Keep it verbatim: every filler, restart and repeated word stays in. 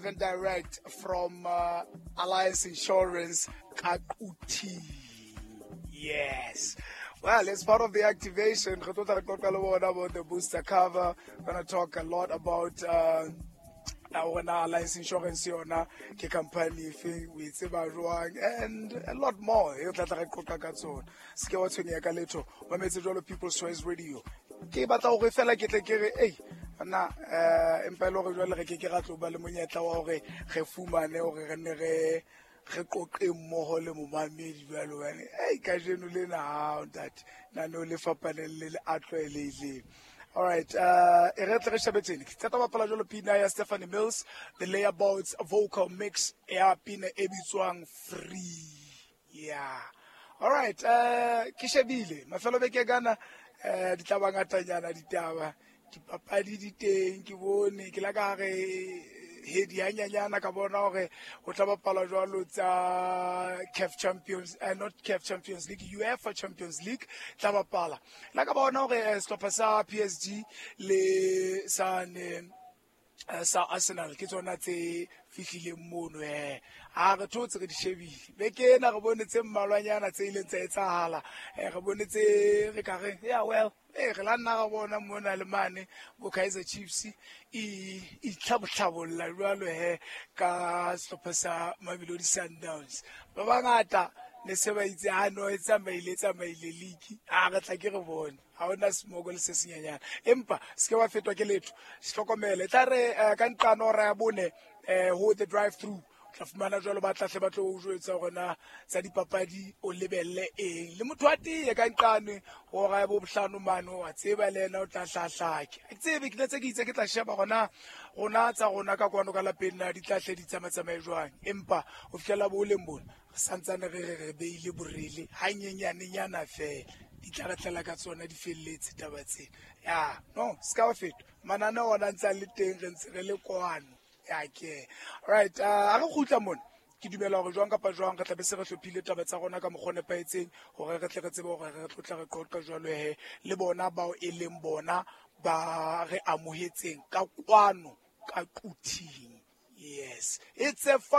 And direct from uh, Alliance Insurance Kakuti. Yes. Well, it's part of the activation. Re tlo tla re qoqa le bona about the booster cover. Gonna talk a lot about uh, hore Alliance Insurance yona ke company efeng, o e tseba jwang, and a lot more e re tla tla re qoqa ka tsona. Se ke wa tshwenyeha ka letho. Mametse jwalo People's Choice Radio. Ke batla hore fela ke tle ke re, ei, nna eh empa e le hore jwale re ke ke ra tlo ba le monyetla wa hore re fumane hore re nne re re qoqe mmoho le momamedi jwalo hobane ei kajeno lena ha ntate nano le fapaneng le le a tlwaelehileng. All right, uh, e re tle re shebe tsene. Ke qeta bapala jwalo pina ya Stephanie Mills, the Layabouts vocal mix ya pina e bitswang Free. Yeah. All right, uh, ke shebile mafelo beke kana eh di tla ba ngatanyana ditaba. Dipapadi di teng, ke bone ke la ka re hedi hanyanyana ka bona hore ho tla bapalwa jwalo tsa C A F Champions, uh, not C A F Champions League, UEFA Champions League tla bapala. La ka bona hore eh, sehlopha sa P S G le sa ne sa Arsenal ke tsona tse fihlileng mono eh ha re thotse re di shebile. Beke ena re bone tse mmalwanyana tse ileng tsa etsahala, eh re bone tse re ka reng yeah well eh re la nna ra bona mona le mane bo Kaizer Chiefs e itlhabotlhabolla jwalo he ka sehlopha sa Mamelodi Sundowns. Ba bangata ne se ba itse ha no e tsamaile tsamaile league ha re tla ke re bone ha hona smoko le se senyanyana, empa se ke wa fetwa ke letho. Hlokomele tla re ka nqano hora ya bone eh ho the drive through tla fumana jwalo ba tlahle ba tlo o jwetsa hore na tsa dipapadi o lebelle eng le motho wa teye ka nqane hora ya bo bohlano mane wa tseba le yena o tla hlahlake. Ke tsebe ke tse ke itse ke tla sheba hona rona tsa rona ka kwano ka lapeng na di tlahle di tsamatsamaye jwang, empa ho fihlela bo leng bona re santsane re re re beile borele hanyenyanenyana fela di tla re tlela ka tsona di felletse taba tsena. Ya no se ka wa fetwa mananeo ona ntse a le teng re ntse re le kwano. Ya ke right, a re kgutla mona ke dumela hore jwang kapa jwang re tla be se re hlophile taba tsa rona ka mokgwa o nepahetseng hore re tle re tsebe hore re tlo tla re qoqa jwalo he le bona bao e leng bona ba re amohetseng ka kwano ka Quthing. Yes, it's a fun